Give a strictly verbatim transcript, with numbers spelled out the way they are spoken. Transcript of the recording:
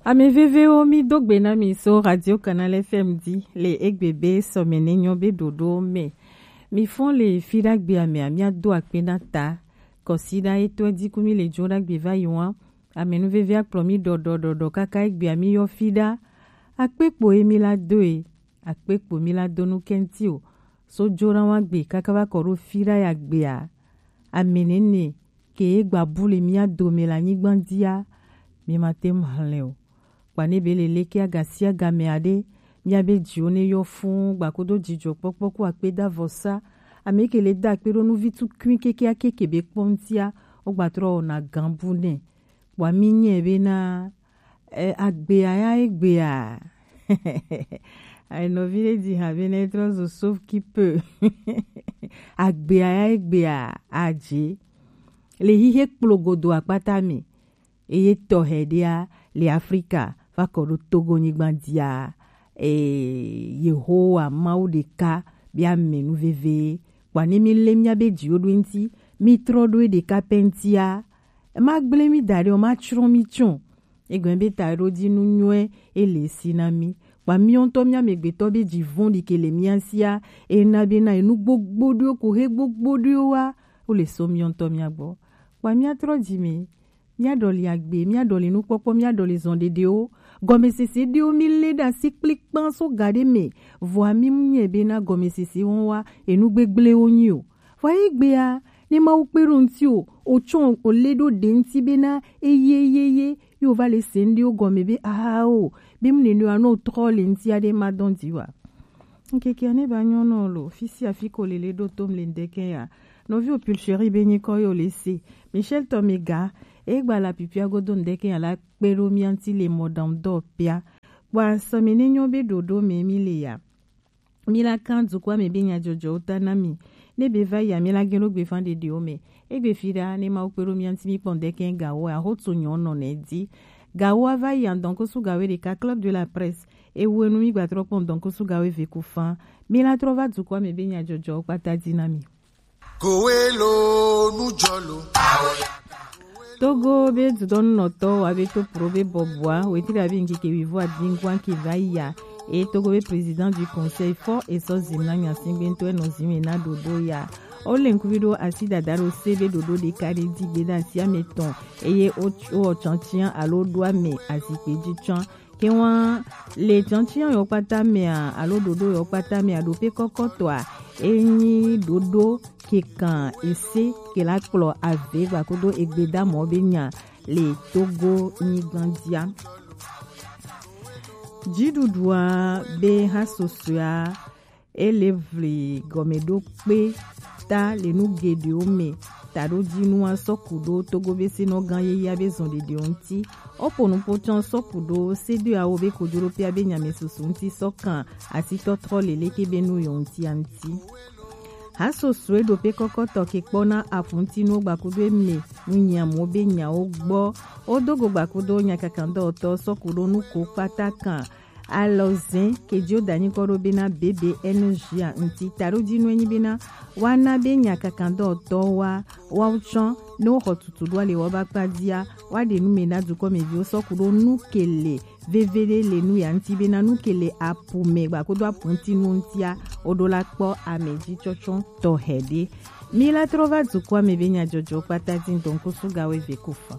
Ame vevewo, mi do gbe na mi so Radio Canal F M di le egbe be sɔmɛ ne nyɔ be ɖoɖo mɛ. Mi fɔn le fi ɖagbe ame a, mi a do akpe na ta. Kɔsi ɖa etɔ di ku mi le jo ɖagbe va yi wa. Ame nu veve a kplɔ mi ɖɔɖɔ ɖɔɖɔ kaka egbe a mi yɔ fi ɖa. Akpe kpo e mi la do e. Akpe kpo mi la do nu kɛnti o. So jo ɖa wa gbe kaka va kɔ ɖo fi ɖa ya gbe a. Ame nene ke ye gba bu le mia dome le anyigba dia, mi ma te ŋu hlẽ o. Kpa ne be le leke aga sia game aɖe, mia be dziwo ne yɔ fũu gbakodo dzidzɔkpɔkpɔ ku akpedavɔsa. Ame ke le da akpe ɖo nuvi tukui keke ake ke be kpɔ ŋutia, wogba trɔ wɔna gã bu nɛ. Kpɔa mi nyɛ bena, eh, agbea ya egbea. Ayi nɔvi ɖe dzi ha bena etrɔ zu sauf qui peut. Agbea ya egbea adze. Le hihe kplo godo akpata me. Eye tɔxɛ ɖea le Afrika va kɔ ɖo Togo nyigba dia. Eh, Yehowa Mawu ɖeka be ame nu veve. Kpɔa ne mi le mia be dziwo ɖo eŋuti, mi trɔ ɖo eɖeka pɛ ŋutia. Ema gblẽ mi da ɖe o, ma tsrɔ̃ mi tsɔ. Egɔme be taɖodinu nyɔe ele si na mi. Kpa miwo ŋutɔ mia amegbetɔ be dzi vɔ̃ɖi ke le mia sia, ena be na enu gbogbo ɖewo ko he gbogbo ɖewo wa, wo le sɔ miwo ŋutɔ mia gbɔ. Kpa mia trɔ dzi me, mia ɖɔli agbe, mia ɖɔli nukpɔkpɔ, mia ɖɔli zɔn ɖeɖewo. Gɔmesese ɖewo mi le ɖe asi kplikpan so ga ɖe me, vɔa mi mu nyɛ be na gɔmesese wɔn wa, enu gbegblẽwo nyi o. Vɔ egbea, ne Mawu kpe ɖo ŋuti o, o tsɔ o le ɖo ɖe ŋuti be na eye, eye, eye, ye o va le se ŋɖewo gɔme be, ah, o, be mu nene wa no trɔ le ŋuti aɖe ma dɔn di wa. Ŋkeke ne ba nyɔ nɔ lo, fi sia fi ko le le ɖo tom le ŋdeke ya. Nɔvi o Pulchérie be nyikɔ yo le se. Michel Tomega, e gba la pipia godo ŋdeke ya la kpe ɖo mia ŋuti le mɔ dam dɔ pia. Kpɔa sɔmi ne nyɔ be ɖoɖo me mi le ya. Mi la kan dukɔa me be nyajɔjɔwo ta na mi. Ne be va yi a, mi la gɛn ɖo gbevan ɖeɖewo me. Egbe fi ɖa ne Mawu kpe ɖo mia ŋuti mi kpɔ ŋdeke gawo a, ho tso nyɔ nɔ ne di. Gawo a va yi a, ŋdɔnkosu gawo ɖeka Club de la Presse. Ewu enu mi gba trɔ kpɔ ŋdɔnkosu gawo eve ku fan. Mi la trɔ va dukɔa me be nyajɔjɔwo kpata di na mi. Kowelo nujɔlo. Togo be dudɔnunɔtɔ wa be to pro be bɔbɔa wetri abi ŋkeke wivo adingwa ke va ya. E Togo be président du conseil fɔ esɔ zim na nyasingbe ŋutɔ enɔ zim na ɖoɖo ya. O le ŋkuvi ɖo asi dada ɖo se be ɖoɖo ɖeka ɖe di gbe ɖe asi ame tɔn eye o o tsɔntsian alo ɖo ame azikpe ji tsɔn. Ke wa le tsɔntsian yɔ kpata mea alo ɖoɖo yɔ kpata mea ɖo pe kɔkɔtɔa enyi ɖoɖo ke kan ese ke la kplɔ ave gbakodo egbedamɔ be nya le Togo nyigban dia. Dziɖuɖua be ha sosoea ele vli gɔmeɖokpe ta le nu geɖewo me. Taɖodinua sɔku ɖo Togo be senɔ gã yeyea be zɔn ɖeɖewo ŋuti. Opo nupo tsɔ sɔku ɖo sedoeawo be kojoɖoƒea be nyame susu ŋuti sɔ kan asitɔtrɔ leleke be nu yɔ ŋutia ŋuti. Hasosoe ɖo pe kɔkɔtɔ ke kpɔ na aƒuntinuwo gbakudo eme nu nyiamuwo be nyawo gbɔ. Wodo go gbakudo nyakakandɔwɔtɔ sɔku ɖo nuko kpata kan. Alɔzɛn ke dio da nyikɔ ɖo bena B B N G a ŋuti. Taɖodinu enyi bena woana be nyakakandɔwɔtɔwo wa woawo tsɔ ne woxɔ tutu ɖo ale woaba kpa dia woaɖe nu me na dukɔmeviwo sɔku ɖo nu ke le veve ɖe le nu ya ŋuti bena nu ke le apu me gbakodo apu ŋuti nu ŋutia woɖo la kpɔ ame dzi tsɔtsɔ tɔxɛ ɖe. Mi la trɔ va dukɔa me be nyajɔjɔ kpata di ŋdɔnkosu gawo eve ko fɔ.